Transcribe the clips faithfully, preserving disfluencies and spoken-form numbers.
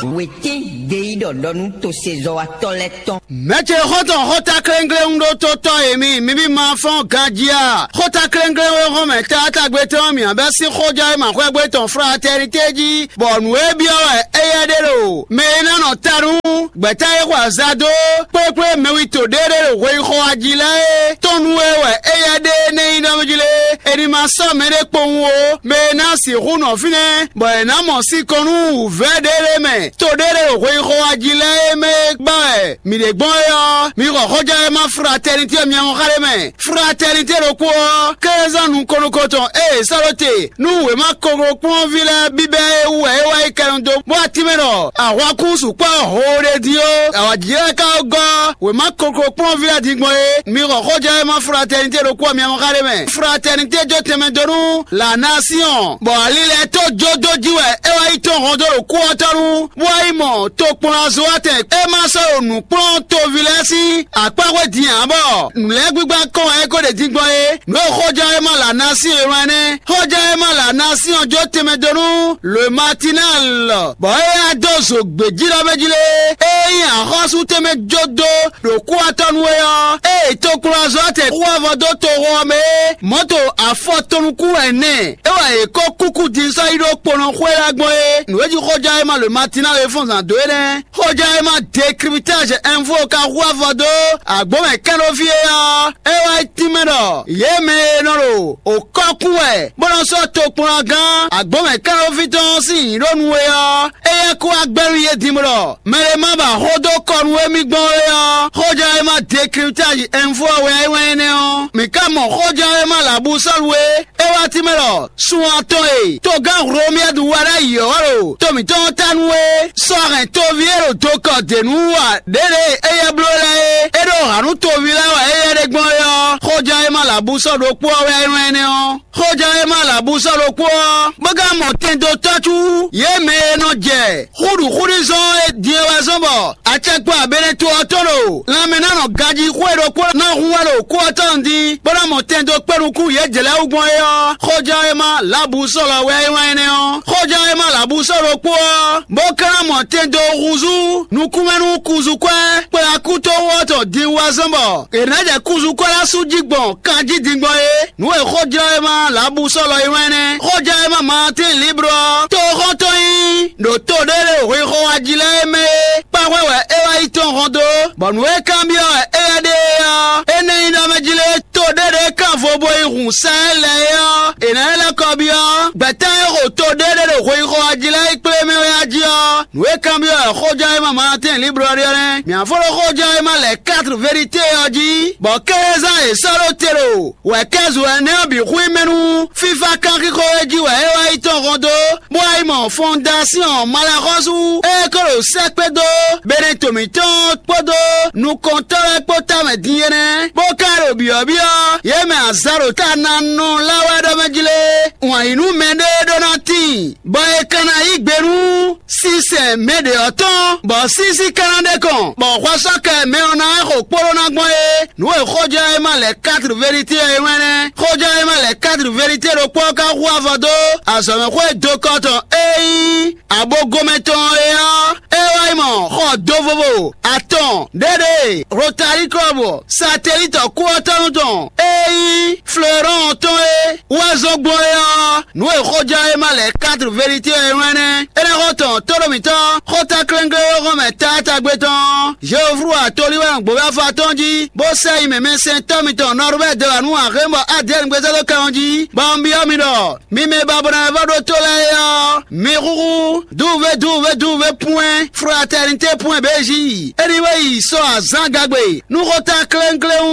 Wětín ɖe yí ɖɔ ɖɔ nú tosezɔ́watɔ́ lɛ́ɛ tɔn. Mɛ̌ ce xɔ́ntɔn xɔ́ta kléŋkléŋ ɖó tó tɔ́ e mi, mi bí ma fɔ́n ganjí a? Xɔ́ta kléŋkléŋ e hɔn mɛ taatagbe tɔn mǐ bɛ́ sín xójɔ́ e ma xwɛ́gbé tɔn fratɛ́nité jí, bɔ nǔ e byɔ́ wɛ éyɛ́ ɖe ɖo mɛ e ná nɔ ta nú gbɛ̌ta e xɔ azado kplékplé mɛwito ɖé ɖé ɖo hweyixɔ wa jí lɛ́ɛ é tɔn nú e wɛ éyɛ́ ɖe nɛ́ nyí nɔ́ jí lé. È ní ma sɔ́ mɛɖé kpowun ó, mɛ e ná sixú nɔ fínɛ́, bɔ è nǎ mɔ sinkɔn nú wǔvɛ́ ɖé lɛ́ɛ mɛ. To ɖé ɖe ɖo hweyixɔ wa jí lɛ́ɛ e mɛ e gbá wɛ mǐ ɖe gbɔn é ɔ́, mi xɔ xɔjɛ́ e ma fratɛnitě myɛ hɔn xá ɖé mɛ. Fratɛnitě ɖokpó ɔ́, kézán nukɔn nukɔn tɔn e è sɔ́ ɖó te nú wěma koklokplɔ́nví lɛ́ɛ bíbɛ́ é wú wɛ é wá yi kɛnɔ dó, bó wá tínmɛ ɖɔ ahwankún sukpɔ́ ho ɖé dín ó. Awǎjijɛ lɛ́ɛ ka gɔ́ wěma koklokplɔ́nví lɛ́ɛ din gbɔn é. Mi xɔ xɔjɛ́ e ma fratɛnitě ɖokpó ɔ́ myɛ hɔn xá ɖé mɛ. Fratɛnitě jó tɛnmɛ dó nú Lanasiɔn, bɔ ali lɛ́ɛ tó jó dó jí wɛ é wá yi tɔ́n hɔn dó ɖo kú ɔ́ tɔ́ nu, bó wá yi mɔ tokplɔ́nzɔ́watɛn e ma sɔ́ ɖo nǔkplɔ́n toví lɛ́ɛ sín akpáxwé din ǎ, bɔ nǔ lɛ́ɛ gbígbá kɔn wɛ é ko ɖe din gbɔn é. Nǔ e xɔjɛ́ e ma la ná sín e wlán nɛ́. Xɔjɛ́ e ma la ná sín ɔ́ jó tɛnmɛ dó nú le Matinal, bɔ é wá dó zo gbějíɖɔ mɛ jí lé. É nyí axɔ́sú tɛnmɛ jó dó ɖo kúwatɔ́ nú é ɔ́, ée tokplɔ́nzɔ́tɛn xú avɔ dó toxo ɔ́ mɛ é, mɔ̌to afɔ tɔn nukún wɛ nɛ́. É wɛ è kó kúkú din sɔ́ yi ɖó kponɔ xwé lɛ́ɛ gbɔn é. Nǔ e jí xɔjá e ma le Matina e fɔ́n zǎn dó é nɛ́. Xɔjá e ma Décryptage Info ka hu avɔ dó agbǒmɛ kɛ́ɖóví é ɔ́, é wá tínmɛ ɖɔ yě mɛ e nɔ ɖo òkɔ́kún wɛ bó nɔ sɔ́ tokplɔ́ngán agbǒmɛ kɛ́ɖóví tɔn sín nyǐɖó nu é ɔ́, éyɛ́ kú wá gbɛ́ nú yě din bó ɖɔ mɛ e ma ba xó dó kɔ nú émí gbɔn é ɔ́, xɔjá e ma Décryptage Info wɛ é wɛn énɛ́ ɔ́. Mǐ ka mɔ xɔjá e ma Labusɔ́lu é. É wá tínmɛ ɖɔ sun atɔn e togán Hlomyɛ́du wa ɖ'ayǐ ɔ́ wá ɖo to mǐtɔn ɔ́ ta nú é. Sɔ́ hɛn toví e ɖo dokɔ dě nú wa ɖěɖě éyɛ́ bló lɛ́ɛ é. É ɖó hǎn nú toví lɛ́ɛ wɛ éyɛ́ ɖe gbɔn é ɔ́, xɔjá e ma Labusɔ́ ɖokpó ɔ́ wɛ é nyɔ́ énɛ́ ɔ́. Xɔjá e ma Labusɔ́ ɖokpó ɔ́, bó ka mɔ tɛndo tɔ́cú yě mɛ e nɔ jɛ xúɖuxúɖuzɔ́n e din e wɛ zɔ́n bɔ acɛkpo abɛnɛto ɔ́ tɔn ɖo lanmɛ ná nɔ gají xwé ɖokpó ná hun wá ɖo kú ɔ́ tɔn din, bó ná mɔ tɛn dó kpé nukún yě jlɛ̌ wú gbɔn é ɔ́, xɔján e ma Labusɔ́ lɔ wɛ é wɛn énɛ́ ɔ́. Xɔján e ma Labusɔ́ ɖokpó ɔ́, bó ka ná mɔ tɛn dó húzú nukúnmɛ nú kuzukwɛ́ kplakútowú ɔ́ tɔn din wá zɔ́n bɔ è nǎ jɛ kuzukwɛ́ lɛ́ɛ sú jí gbɔn kanjí din gbɔn é. Nǔ e xɔjlɔ́ e ma Labusɔ́ lɔ é wɛn énɛ́. Xɔján e ma Matín Liblɔ ɔ́, toxɔ́ntɔn nyí ɖo to ɖé ɖe hwexɔ wá jí lɛ́ɛ é mɛ é. Kpáxwɛ wɛ é wá yi tɔn hɔn dó, bɔ nǔ e kanbyɔ́ wɛ éyɛ́ ɖe é ɔ́, é nɛ́ nyí ɖɔ mɛ jí lé to ɖé ɖě kan vo bo yi hun sɛ́n lɛ́ɛ é ɔ́, è nǎ lɛ́ kɔ byɔ́ gbɛ̌ta e xo to ɖé ɖé ɖo hweyixɔ wá jí lɛ́ɛ yi kplé mɛ wɛ á jí ɔ́, nǔ e kanbyɔ́ wɛ xɔján e ma Matín Liblɔ ɖe ɔ́ nɛ́. Mǐ á fó ɖó xɔján e ma lɛ̌ quatre vérité ɔ́ jí, bɔ kézán e sɔ́ ɖó te ɖo wɛ̌kɛ́zun ɛnɛ ɔ́ bǐ hu mɛ nú fífá kanxixo e jí wɛ é wá yi tɔn hɔn dó, bó wá yi mɔ fɔndasíɔn malaxɔ́sú e ko ɖo sɛ́kpé dó Beneto mǐtɔn kpódó nukɔntɔ́ lɛ́ɛ kpó tamɛ din é nɛ́, bó ka ɖo byɔ̌byɔ́ yě mɛ azǎn ɖo ta ná nɔ lá wɛ ɖɔ mɛ jí lé. Wǎn yí nú mɛɖé ɖó ná tíin, bɔ è ka ná yí gbe nú sísɛn mɛ ɖě ɔ́ tɔn, bɔ sísí ka ná ɖe kɔn, bɔ hwɛsɔ́kɛ mɛ ɔ́ ná wá xo kpóɖó ná gbɔn é. Nǔ e xɔjá e ma lɛ̌ quatre vérité ɔ́ é wɛn nɛ́. Xɔjá e ma lɛ̌ quatre vérité ɖokpó ɔ́ ka hu avɔ dó azɔ̌mɛxwé dokɔ tɔn e nyí abogomɛ tɔn é ɔ́, é wá yi mɔ xɔ do vovo atɔn ɖéɖée Rotary Club Satellite kú ɔ́ tɔn tɔn e nyí Florent tɔn é wá zɔn gbɔn é ɔ́. Nǔ e xɔjá e ma lɛ̌ quatre vérité ɔ́ é wɛn nɛ́. Énɛ́ xɔ tɔn tóɖó mǐtɔn xɔta klɛ́nklɛ́n e xɔ́n mɛ taátagbe tɔn Jeoflu atolíwɛ́n gbǒvɛ́ afɔ atɔ́ɔ́n jí, bó sɛ yi mɛmɛsɛntɔ́ mitɔn Nɔrubɛ́ dó wǎ nú axémbɔ Adɛ́ɛn gbézɔ́ dó kɛ ɔ́ jí, bɔ un byɔ́ mi ɖɔ mi mɛ e ba bɔ ná wɛ vɔ ɖó tó lɛ́ɛ é ɔ́, mi xúxú dúvé dúvé dúvé pwɛ́n fraternité pwɛ́n bějí. Éní wɛ yi sɔ azǎn gagbe nú xɔta klɛ́nklɛ́n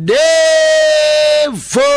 ɖěvo.